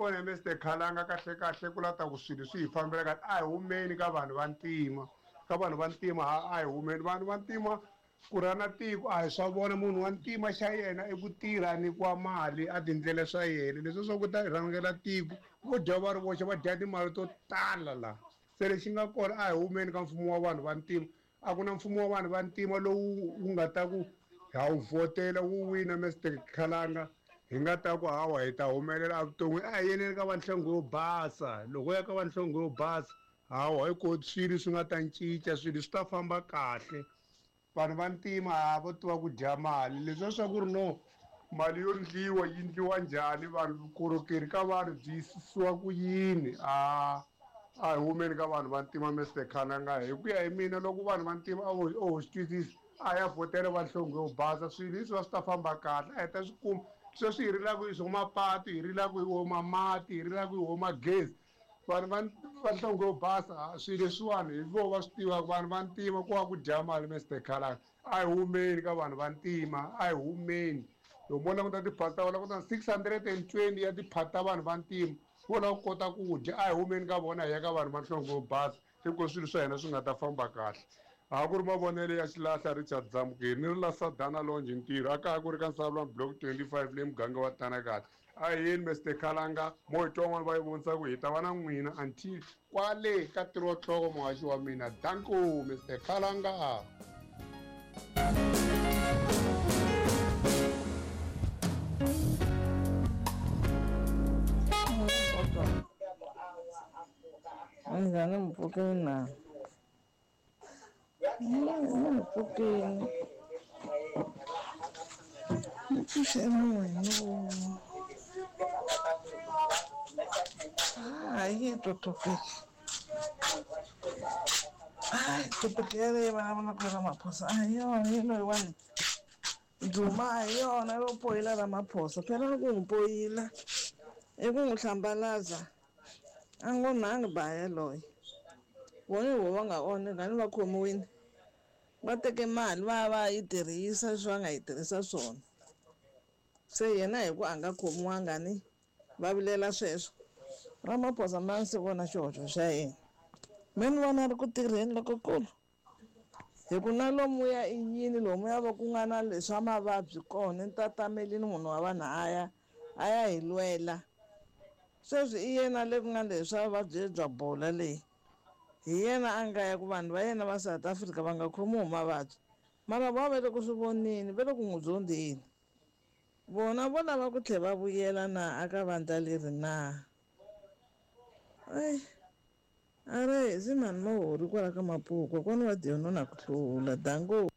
kona Mister Khalanga kahle kahle ku la ta ku swilo swi hi fambela kahle a hi humeni ka vanhu va ntima ka vanhu va ntima a hi humeni vanhu va ntima ku rhana tiko a hi swa vona munhu wa ntima xa yena i ku tirha a nyikiwa mali a tindlela swa yena leswi swa ku ta rhangela tiko vo dya va ri voxe va dya timali to tala la se lexi nga kona a hi humeni ka mfumo wa vanhu va ntima a ku na mfumo wa vanhu va ntima lowu wu nga ta ku ha wu vhotela wu wina Mister Khalanga hi nga ta ku hawa hi ta humelela evuton'wini a hi yeneni ka vanhlongo yo basa loko ya ka vanhlongo yo basa hawa hi ko swilo swi nga ta cinca swilo swi ta famba kahle vanhu va ntima ha vo tiva ku dya mali leswiya swa ku ri no mali yo ndliwa yi ndliwa njhani vanhu vukorhokeri ka vanhu byi yisisiwa ku yini a a hi humeni ka vanhu va ntima Mister Khalanga hi ku ya hi mina loko vanhu va ntima a vo o swi twisisa a ya vhotela vanhlonge yo basa swilo leswi va swi ta famba kahle a hi ta swi kuma sweswi hi rilaka hi swo mapatu hi rilaka hi wo mamati hi rilaka hi wo magezi vanhu va va nhlonge yo basa swilo leswiwani hi vo va swi tivaka vanhu va ntima ku va ku dya mali Mister Khalanga a hi humeni ka vanhu va ntima a hi humeni loko mo languta tiphati ta vona languta 620 ya tiphati ta vanhu va ntima vo lava ku kota ku dya a hi humeni ka vona hi ya ka vanhu va nhlonge yo basa hikuva swilo swa hina swi nga ta famba kahle a ku ri mavonelo ya xilahla Richard Zamukeri ni ri la Sadana Longe ntirho a kaya ku ri ka Nsavulani block 25 le muganga wa Tanakati a hi yeni Mister Khalanga mo hi twa van'wana va yi vonisa ku hi ta va na n'wina until kwale ka tirho muhaxi wa mina danko Mister Khalanga. Minjhani mi pfukile na? Ni pfukile. Ni pfuxe munhu. Hayi topic. Hayi topic yaleyo vulavulaka hi Ramaphosa a hi yona hi loyiwani Duma a hi yona yo poyila Ramaphosa phela ni ku n'wi poyila i ku n'wi hlambalaza a ngo nangi ba yaloye vona hi vo va nga onha ni va khomiwile va teke mali va ya va ya yi tirhisa leswi va nga yi tirhisa swona se yena hi ku a nga khomiwanga ni va vilela sweswo Ramaphosa mina ndzi vona xihoxo xa yena me ni vona ri ku tirheni lokukulu hi ku na lomuya i yini lomuya va ku nga na leswa mavabyi kona ni tatamelini munhu wa vanhu a ya a ya hi lwela sweswi i yena le ku nga leswa vuvabyi bya bola leyi hi yena a nga ya ku vanhu va yena va South Africa va nga khomiwi hi mavabyi mara vo va le ku swi voneni va le ku n'wi zondzeni vona vo lava ku tlhela va vuyela na aka vandla leri na ai a ri hisi mhani mahori kwala ka mapuku kokwana wa Dion na ku hlula danko.